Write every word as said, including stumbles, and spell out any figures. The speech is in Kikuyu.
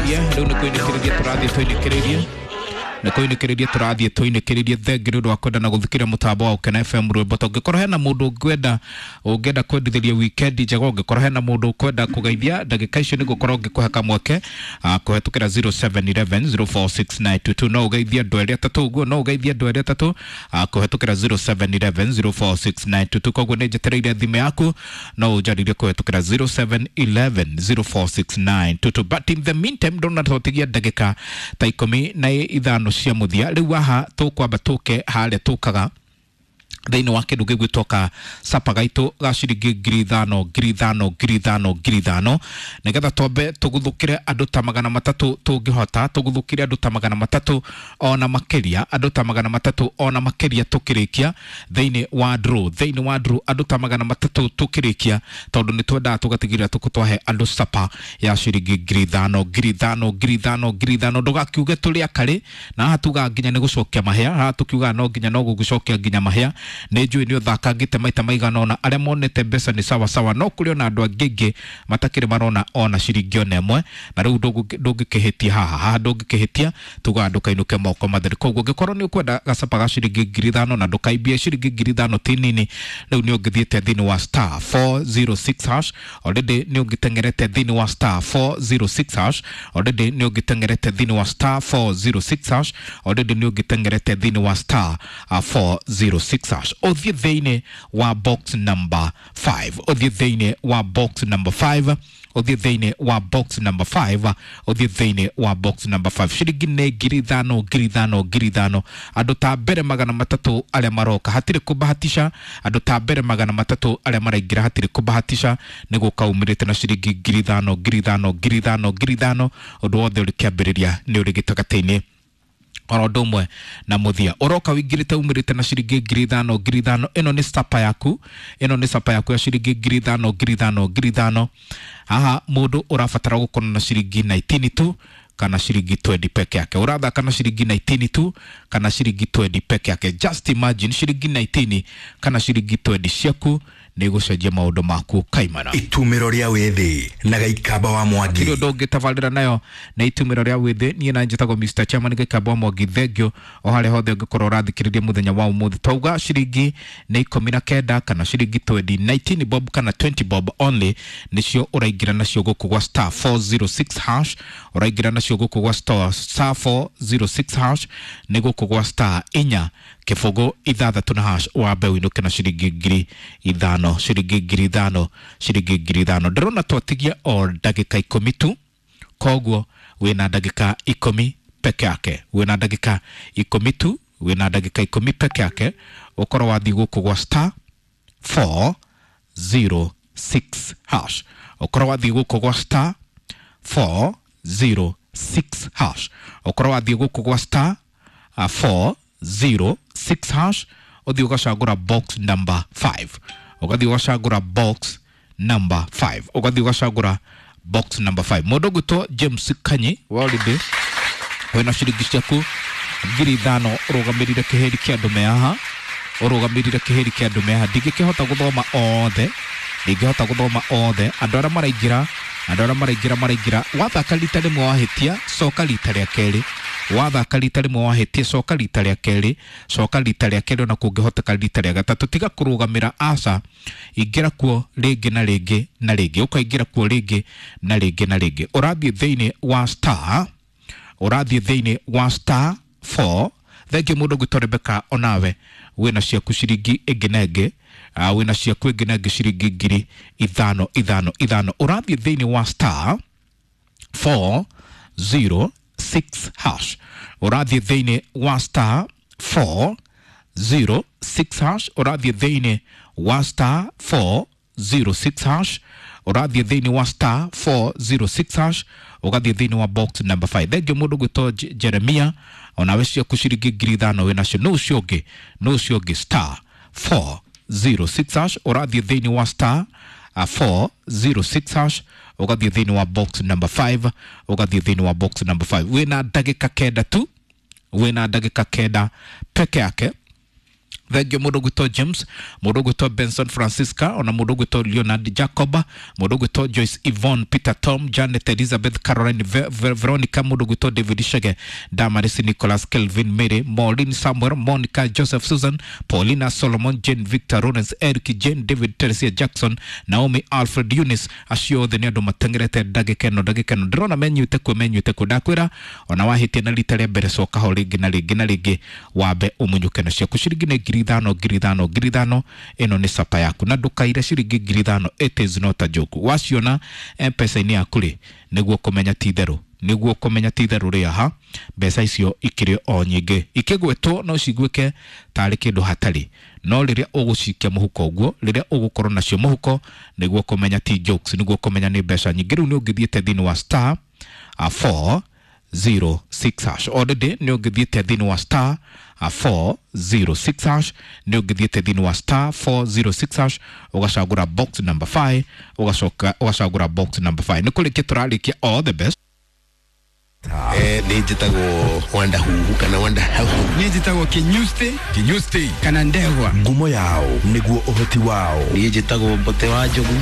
tũinĩkĩrĩrie, rĩu nĩ kũinĩkĩrĩria tũrathiĩ tũinĩkĩrĩrie, nĩ kũinĩkĩrĩria tũrathiĩ tũinĩkĩrĩrie. Thengi nĩ ũndũ wa kwenda na gũthikĩrĩria mũtambo wa Ũkena F M rwĩmbo. Tũngĩkorwo hena mũndũ ũngĩenda, ũngĩenda kwendithĩria weekend njega, ũngĩkorwo hena mũndũ ũkwenda kũgeithia ndagĩka icio nĩgũkorwo ngĩkũhe kamweke, ah, kũhetũkĩra zero seven eleven zero four six nine two two. No ũgeithie andũ erĩ atatũ ũguo, no ũgeithie andũ erĩ atatũ, ah, kũhetũkĩra zero seven eleven zero four six nine two two. Koguo nĩ njetereire thimũ yaku, no ũnjarĩrie kũhetũkĩra zero seven eleven zero four six nine two two. But in the meantime, ndona tũtigia ndagĩka ta ikũmi na ithano cia mũthia. Rĩu haha tũkwamba tũke harĩa tũkaga thĩinĩ wa kĩndũ gĩgwĩtwo ka sapa gaitũ ga ciringi ngiri ithano, ngiri ithano, ngiri ithano, ngiri ithano, nĩgetha twambe tũguthũkĩre andũ ta magana matatũ tũngĩhota, tũguthũkĩre andũ ta magana matatũ ona makĩria, andũ ta magana matatũ ona makĩria tũkĩrĩkia thĩinĩ wa draw, thĩinĩ wa draw andũ ta magana matatũ tũkĩrĩkia, tondũ nĩ twendaga tũgatigĩrĩra tũkũtwahe andũ sapa ya ciringi ngiri ithano, ngiri ithano, ngiri ithano, ngiri ithano. Ndũgakiuge tũrĩ akarĩ, na haha tugaga nginya nĩ gũcokia mahĩa, haha tũkiugaga no nginya no gũgũcokia nginya mahĩa. Nĩ njũĩ nĩ ũthakangĩte maita maigana ũna, arĩa monete mbeca nĩ sawa sawa, no kũrĩ ona andũ angĩ aingĩ matakĩrĩ marona ona ciringi ona ĩmwe, na rĩu ndũngĩ-, ndũngĩkĩhĩtia haha, haha ndũngĩkĩhĩtia, tugaga ndũkainũke moko matheri. Koguo ũngĩkorwo nĩ ũkwenda gacapa ga ciringi ngiri ithano na ndũkaimbie ciringi ngiri ithano ti nini, rĩu nĩ ũngĩthiĩte thĩinĩ wa star four zero six hash, already nĩ ũngĩteng'erete thĩinĩ wa star four zero six hash, already nĩ ũngĩteng'erete thĩinĩ wa star four zero six hash, already nĩ ũngĩteng'erete thĩinĩ wa star four zero six hash. Ũthiĩ thĩinĩ wa box number five, ũthiĩ thĩinĩ wa box number five, ũthiĩ thĩinĩ wa box number five, ũthiĩ thĩinĩ wa box number five. Ciringi nĩ ngiri ithano, ngiri ithano, ngiri ithano. Andũ ta mbere magana matatũ arĩa maroka hatirĩ kũbahatisha, andũ ta mbere magana matatũ arĩa maraingĩra hatirĩ kũbahatisha, nĩ gũka umĩrĩte na ciringi ngiri ithano, ngiri ithano, ngiri ithano, ngiri ithano. Ũndũ wothe ũrĩ kĩambĩrĩria nĩ ũrĩ gĩtagatĩ-inĩ oro ũndũ ũmwe na mũthia. Ũroka ũingĩrĩte umĩrĩte na ciringi ngiri ithano, ngiri ithano. Ĩno nĩ sapa yaku, ĩno nĩ sapa yaku ya ciringi ngiri ithano, ngiri ithano, ngiri ithano. Haha mũndũ ũrabatara gũkorwo na ciringi nineteen tu kana ciringi twenty peke yake. Ũrathaka na ciringi nineteen tu kana ciringi twenty peke yake. Just imagine ciringi nineteen kana ciringi twenty ciaku nĩ gũcenjia maũndũ maku kaimana. Itumĩro rĩa wĩthĩ na Gĩikamba wa Mwangi. Kĩrĩa ũndũ ũngĩtabarĩra nayo nĩ itumĩro rĩa wĩthĩ. Niĩ na njĩtagwo Mister Chairman Gĩikamba wa Mwangi, thengio o harĩa hothe ũngĩkorwo ũrathikĩrĩria mũthenya wa ũmũthĩ. Twauga ciringi nĩ ikũmi na kenda kana ciringi twenty, nineteen bob kana twenty bob only nĩcio ũraingĩra nacio gũkũ gwa star four zero six hash, ũraingĩra nacio gũkũ gwa star, star four zero six hash, nĩ gũkũ gwa star inya kĩbũgũ ithathatũ na hash, wambe ũinũke na ciringi ngiri ithano, ciringi ngiri ithano, ciringi ngiri ithano. Ndĩrona twatigia o ndagĩka ikũmi tu, koguo wĩna ndagĩka ikũmi peke yake, wĩna ndagĩka ikũmi tu, wĩna ndagĩka ikũmi peke yake, ũkorwo wathiĩ gũkũ gwa star four zero six hash, ũkorwo wathiĩ gũkũ gwa star four zero six hash, ũkorwo wathiĩ gũkũ gwa star four zero six hash, ũthiĩ ũgacagũra box number five, ũgathiĩ ũgacagũra box number five, ũgathiĩ ũgacagũra box number five. Mũndũ ũgwĩtwo James Kanyi wa Holiday, wĩna ciringi ciaku ngiri ithano, ũrũgamĩrĩire kĩhĩri kĩa andũ me haha, ũrũgamĩrĩire kĩhĩri kĩa andũ me haha. Ndingĩkĩhota gũthoma othe, ndingĩhota gũthoma othe. Andũ arĩa maraingĩra, andũ arĩa maraingĩra, maraingĩra. Wathaka rita rĩmwe wahĩtia, coka rita rĩa kerĩ. Wathaka rita rĩmwe wahĩtia, coka rita rĩa kerĩ, coka rita rĩa kerĩ, ona kũngĩhoteka rita rĩa gatatũ. Tiga kũrũgamĩra, aca, ingĩra kuo rĩngĩ na rĩngĩ na rĩngĩ, ũkaingĩra kuo rĩngĩ na rĩngĩ na rĩngĩ. Ũrathiĩ thĩinĩ wa star, ũrathiĩ thĩinĩ wa star four. Thengiũ mũndũ ũgwĩtwo Rebecca, onawe wĩna ciaku ciringi ĩngĩ na ĩngĩ, ah, wĩna ciaku ĩngĩ na ĩngĩ ciringi ngiri ithano, ithano, ithano. Ũrathiĩ thĩinĩ wa star four zero six hash, ũrathiĩ thĩinĩ wa star four zero six hash, ũrathiĩ thĩinĩ wa star four zero six hash, ũrathiĩ thĩinĩ wa star four zero six hash, ũgathiĩ thĩinĩ wa box number five. Thengiũ mũndũ ũgwĩtwo Je-, Jeremia, onawe ciaku ciringi ngiri ithano wĩ nacio. Nũ ũcio ũngĩ? Nũ ũcio ũngĩ? Star four zero six hash, ũrathiĩ thĩinĩ wa star four zero six hash, ũgathiĩ thĩinĩ wa box number five, ũgathiĩ thĩinĩ wa box number five. Wĩna ndagĩka kenda tu, wĩna ndagĩka kenda peke yake. Thengio mũndũ ũgwĩtwo James, mũndũ ũgwĩtwo Benson Francisca, ona mũndũ ũgwĩtwo Leonard Jacob, mũndũ ũgwĩtwo Joyce Yvonne, Peter Tom, Janet Elizabeth, Caroline Ve Ve Veronica, mũndũ ũgwĩtwo David Shege, Damaris Nicholas, Kelvin Mary, Maureen Samuel, Monica Joseph, Susan Paulina, Solomon Jane, Victor Lawrence, Eric Jane, David Teresia Jackson, Naomi Alfred, Eunice, acio othe nĩ andũ mateng'erete ndagĩka ĩno ndagĩka ĩno ndĩrona menyuĩte kuo menyuĩte kuo. Ndakwĩra ona wahĩtia na rita rĩa mbere coka ho rĩngĩ na rĩngĩ na rĩngĩ wambe ũmunyũke na ciaku. Ciringi nĩ ngiri ithano ngiri ithano ngiri ithano, ĩno nĩ capa yaku na ndũkaire ciringi ngiri ithano, it is not a joke. Waciona M-Pesa-inĩ yaku rĩ, nĩguo kũmenya ti itherũ, nĩguo kũmenya ti itherũ rĩ, aha mbeca icio ikĩrĩ o nyingĩ ikĩgwetwo no ciguĩke tarĩ kĩndũ hatarĩ, no rĩrĩa ũgũcikia mũhuko ũguo, rĩrĩa ũgũkorwo nacio mũhuko, nĩguo kũmenya ti jokes, nĩguo kũmenya nĩ mbeca nyingĩ. Rĩu nĩ ũngĩthiĩte thĩinĩ wa star uh, four zero six hash already, nĩ ũngĩthiĩte thĩinĩ wa star uh, four zero six hash, nĩ ũngĩthiĩte thĩinĩ wa star four zero six hash ũgacagũra box number five, ũgacoka ũgacagũra box number five. Nĩ kũrĩkia tũrarĩkia, all the best. Eh, nä njä tagwo Wanda Huhu kana Wanda Hauhu. Niĩ njĩtagwo Kinyusti Kinyusti kana Ndegwa. Ngumo yao nĩguo ũhoti wao. Niä njä tagwo Mbote wa Njogu.